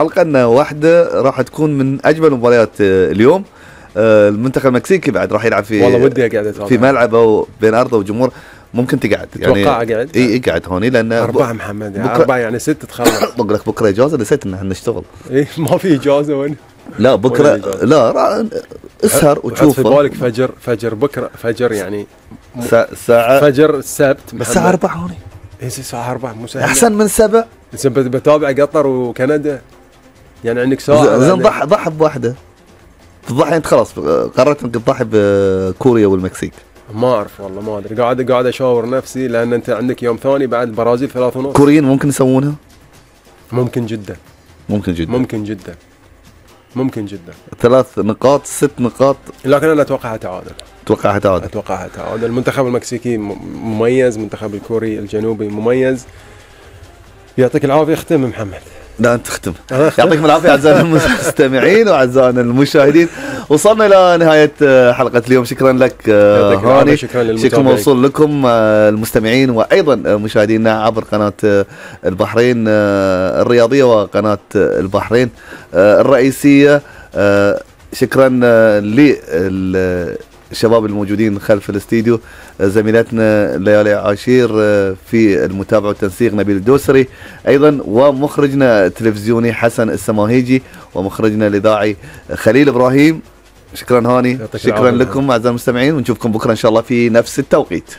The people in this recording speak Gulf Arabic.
حلقة أن واحدة راح تكون من أجمل مباريات اليوم. المنتخب المكسيكي بعد راح يلعب في والله ودي أقعد في ملعبه بين أرضه وجمهور. ممكن تقعد يعني قاعد قاعد هوني لأن 4 محمد يعني 4 يعني 6 تخلص. بقول لك بكرة إجازة، نسيت إن احنا نشتغل. ما في إجازة وين؟ لا بكرة لا اسهر وتشوف في بالك فجر بكرة فجر يعني ساعة فجر السبت بس الساعة 4 هوني. الساعة 4 مو أحسن من 7. بتابع قطر وكندا يعني عندك ساعة. زين ضحي بواحدة. تضحي أنت خلاص قررت إنك تضحي بكوريا والمكسيك. ما أعرف والله ما أدري، قاعد أشاور نفسي لأن أنت عندك يوم ثاني بعد البرازيل 3:30. كوريين ممكن يسوونها؟ ممكن جدا. 3 نقاط 6 نقاط، لكن أنا أتوقعها تعادل. أتوقعها تعادل. المنتخب المكسيكي مميز، المنتخب الكوري الجنوبي مميز. يعطيك العافية. اختم محمد. لا أنت تختم. يعطيكم العافية أعزائنا المستمعين وأعزائنا المشاهدين. وصلنا إلى نهاية حلقة اليوم. شكرا لك هاني. شكرا موصول لكم المستمعين وأيضا مشاهدينا عبر قناة البحرين الرياضية وقناة البحرين الرئيسية. شكرا للشباب الموجودين خلف الاستديو، زميلتنا ليالي عاشير في المتابعة والتنسيق نبيل الدوسري، أيضا ومخرجنا التلفزيوني حسن السماهيجي، ومخرجنا الإذاعي خليل إبراهيم. شكرا هاني. شكرا لكم أعزائي المستمعين، ونشوفكم بكرة إن شاء الله في نفس التوقيت.